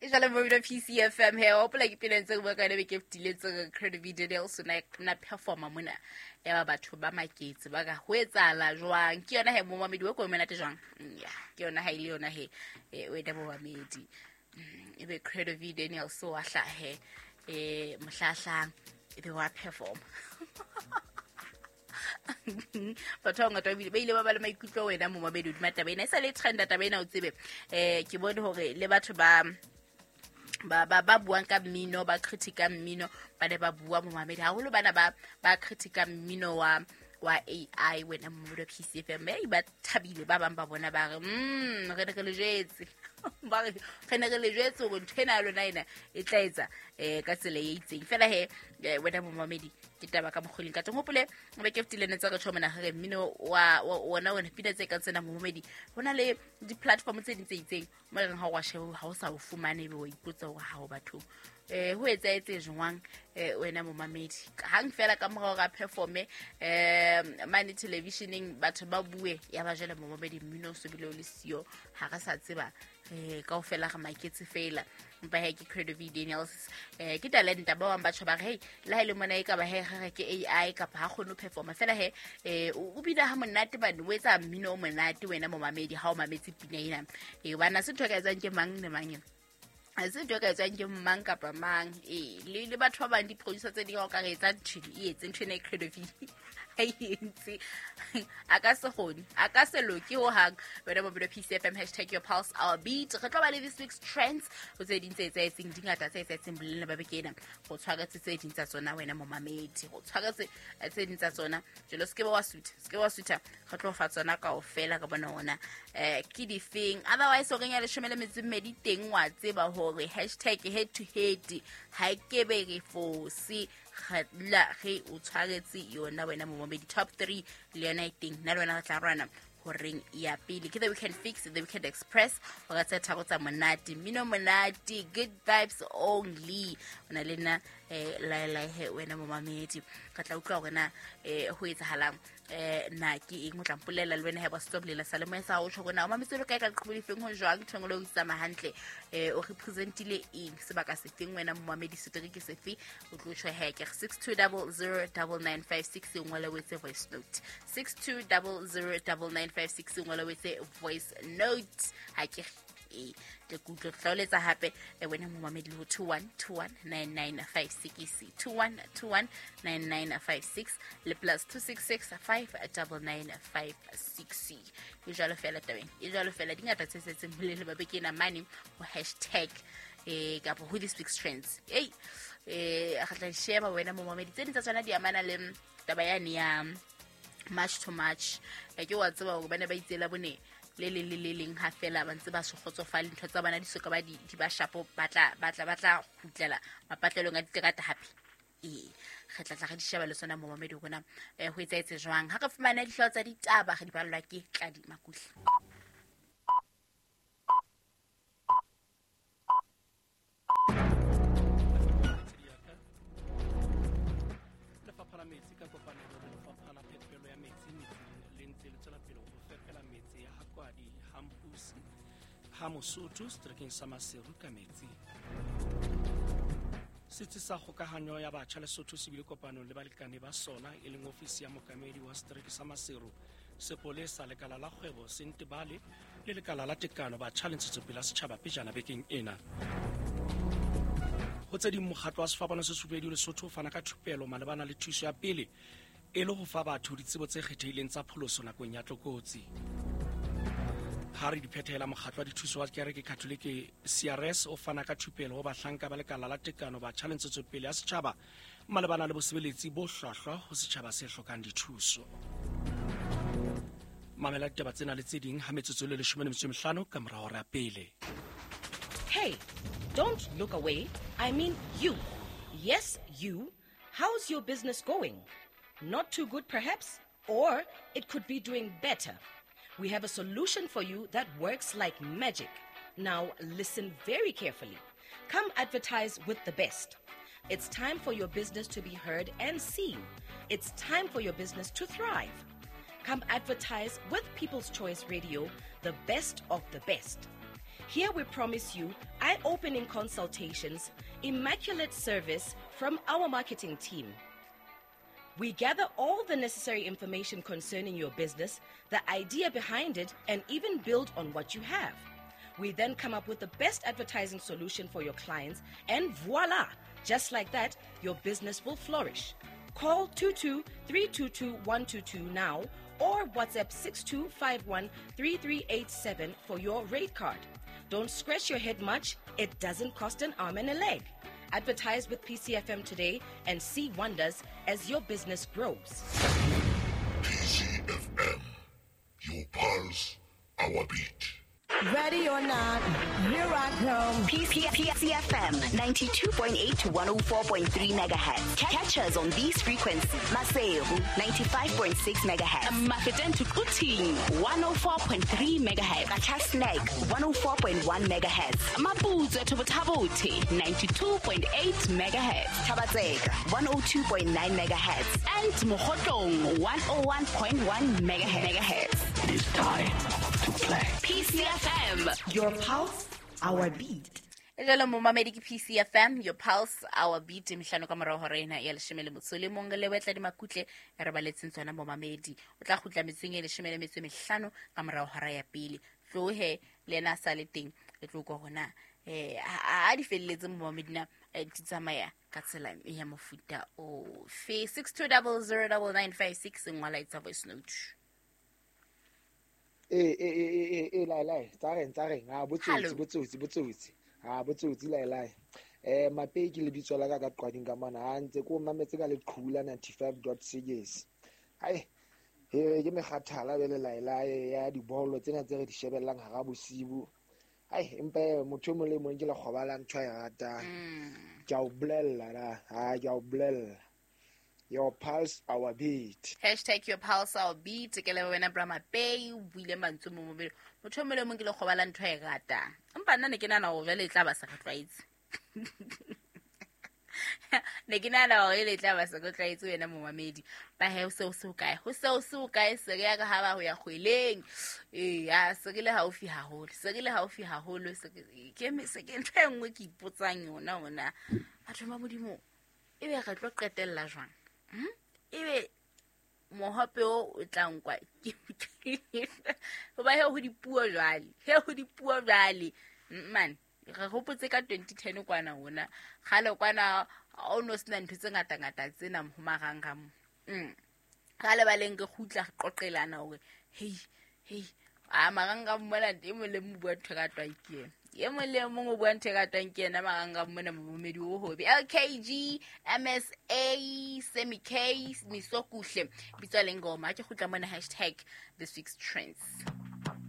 E jwale mo PCFM he hopola ke pina ntse re bua ka yona beke e fetileng tse re Credo Daniels o na performa mona ya ba batho ba maketse ba ka ho etsahala jwang. Ke yona he momamedi wa ko monate jwang. Ya ke yona ha ile yona he o ena momamedi. Ebe Credo V Daniels wa hlahe mohlahlang ebe wa performa. Batho ba bangata ba ile ba ba le maikutlo wena momamedi hodima taba ena. E sa le trenda taba ena o tsebe. Ke bone hore le batho ba ba ba ba buang ka mmino, ba critica mmino, ba ne ba bua momamedi haholo bana ba ba critica mmino wa AI wena momamedi wa PCFM. Ba thabile ba bang ba bona ba re re ne re le jwetse. Ba re re ne re le jwetse hore ntho ena ya lona ena e tla etsa ka tsela e itseng. Fela he wena momamedi ke taba ka mokgoleng ka teng. Hopole be ke fetile ne tsa re tjho mona re mmino wa wona wena pina tse kang tsena momamedi. Ho na le di-platform tse ding tse itseng mo e reng ha o wa sheba ha o sa o fumane ebe wa ipotsa hore ha o batho ho etsahetse jwang wena momamedi. Hang fela ka mora hore a performe mane televisioneng batho ba bue ya ba jwale momamedi mmino o so bile o le siyo, ha re sa tseba kaofela re maketse fela. Empa he ke Credo V Daniels ke talenta. Ba bang batho ba re hey le ha ile mona e ka ba he re ke AI kapa ha kgone ho performa fela he o bina ha monate bane o etsa mmino o monate wena momamedi ha o mametse pina ena. Bana se ntho e ka etsang ke mang le mang ena. Ha se ntho e ka etswang ke mang kapa mang. Le batho ba bang di-producer tse ding ha o ka re etsa ntho e etse ntho ena e Credo V ha e entse. A ka se kgone, a ka se loke hohang. Wena momamedi wa PCFM, hashtag your pulse our beat. Re tlo ba le this week's trends ho tse ding tse etsahetseng, di ngata tse etsahetseng bolelele ba beke ena. Go tshwaretse tse ding tsa tsona wena momamedi, go tshwaretse tse ding tsa tsona. Jwale se ke ba wa sutha, se ke ba wa sutha, re tlo fa tsona kaofela re bone hona ke difeng. Otherwise o reng ya 12 teng wa tseba hore hashtag head to head ha e kebe re fose. Re dula re o tshwaretse yona wena momamedi. Top 3 le yona e teng, nna le wena re tla rwana horeng ya pele. Ke The Weekend Fix, The Weekend Express, hora tse tharo tsa monate, mmino monate, good vibes only. O na le nna lae he wena momamedi. Re tla utlwa hore na ho etsahalang na ke eng o tla mpolela le wena he ba stop lela sa le moya sa o tjho hore na o mametse le kae ka leqhubu lefeng ho jwang ntho e nngwe le o tsamaya hantle o representile eng sebaka sefeng wena momamedi setereke sefe o tlo tjho he ke 62009956 e ngole o etse voice note 62009956 e ngole o etse voice note ha ke ke kutlwe hlaoletsa hape wena momamedi le ho 21219956 21219956 le plus 266 59956. E jwalo fela tabeng, e jwalo fela di ngata tse setseng bolele ba beke ena mane ho hashtag kapa ho this week's trends. Ei re tla sheba wena momamedi tse ding tsa tsona di amana le taba yane ya March to March. Ke wa tseba hore ba ne ba itsela bone le leng le le leng ha fela ba ntse ba se kgotsofale ntho tsa bona di soka ba di ba shapo ba tla kgutlela mapatlelong a diterata hape. Re tla tla re di sheba le sona momamedi rona ho etsahetse jwang ha re fumana dihlooho tsa ditaba re di ballwa ke Tladi Makuhli. Lefapha la metsi ka kopanelo le lefapha la phepelo ya metsi metseng le ntse le tswela pele ho fepela metse ya Hakwadi, Hampusi, ha Mosotho seterekeng sa Maseru ka metsi. Setsi sa kgokahanyo ya batjha Lesotho se bile kopanong le balekane ba sona e leng ofisi ya mookamedi wa setereke sa Maseru, sepolesa, lekala la kgwebo Sentebale le lekala la tekano batjha le ntshetsopele ya setjhaba pejana bekeng ena. Ho tse ding, mokgatlo wa Sefapano se Sefubedu Lesotho o fana ka thupelo malebana le thuso ya pele e le ho fa batho ditsebo tse kgethehileng tsa pholoso nakong ya tlokotsi. Ha re di phethela, mokgatlo wa dithuso wa kereke Katholike CRS o fana ka thupelo ho bahlanka ba lekala la tekano batjha le ntshetsopele ya setjhaba malebana le bosebeletsi bo hlwahlwa ho setjhaba se hlokang dithuso. Mamela ditaba tsena le tse ding ha metsotso le 15 ka mora hora ya pele. Hey, don't look away. I mean you. Yes, you. How's your business going? Not too good, perhaps? Or it could be doing better. We have a solution for you that works like magic. Now, listen very carefully. Come advertise with the best. It's time for your business to be heard and seen. It's time for your business to thrive. Come advertise with People's Choice Radio, the best of the best. Here we promise you eye-opening consultations, immaculate service from our marketing team. We gather all the necessary information concerning your business, the idea behind it, and even build on what you have. We then come up with the best advertising solution for your clients, and voila! Just like that, your business will flourish. Call 22 322 122 now or WhatsApp 6251 3387 for your rate card. Don't scratch your head much, it doesn't cost an arm and a leg. Advertise with PCFM today and see wonders as your business grows. PCFM, your pulse, our beat. Ready or not, here I come. PCFM 92.8 to 104.3 megahertz. Catch us on these frequencies. Maseru 95.6 megahertz. Mafeteng to Quthing 104.3 megahertz. Qacha's Nek 104.1 megahertz. Maputswe to Botha-Bothe 92.8 megahertz. Thaba-Tseka 102.9 megahertz. And Mokhotlong 101.1 megahertz. It is time to play. PCFM. Your pulse, our beat. Jalo momamedi ke PCFM, your pulse, our beat. Mehlano ka morao hora ena ya 11 le wetla di makutle re baletseng tsona momamedi. O tla kgutla metseng e 15 ka morao hora ya pele. Tlohe le ena sa le teng le tlo go hona a di felletse momamedi na di tsamaya ka tsela ya mofuta o fe. 62009956 ngwala itsa voice note. Lai lai tsa reng ha botsotsi ha botsotsi lai lai Mapeki le bitso la ka ka qwading ka mona ha ntse ko mametse ka leqhula 95.6. Hai he ke mekgathala bele lai lai ya dibolo tsena tse re di shebellang hara bosibu. Hai empa motho mo le mong ke le kgobala ntho ya ratang. Ke a o bolella la ha ke a o bolella. Your pulse, our beat. Hashtag your pulse, our beat. Ke le wena bra Mapei, o buile mantswe mo mobile. Motho mo le mong ke le kgobala ntho e ratang. Empa nna ne ke nahana hore jwale e tla ba sa re tlwaetse. Ne ke nahana hore e tla ba sa re tlwaetse wena momamedi. Ba he o se o se o kae? Ho se o se o kae? Se re ya ka ha ba ho ya kgweleng. Ya se re le haufi haholo. Se re le haufi haholo. Se ke ntho e nngwe ke ipotsang yona ona. Batho ba Modimo, ebe re tlo qetella jwang? Ebe mohope o tla nkwa hoba he ho dipuo jwale man re hopotse ka 2010 kwana hona kgale kwana o no sena ntho tse ngata ngata tsena ho marangrang. Kgale ba leng re kgutla re qoqelana hore hey a marangrang mona e mong le mong bua ntho ka twang ke ena. E mong le mong o bua ntho ka twang ke ena marangrang mona momedi o hobe. LKG MSA Semi K Misokuhle bitswa lengoma ke kgutla mona hashtag this week's trends.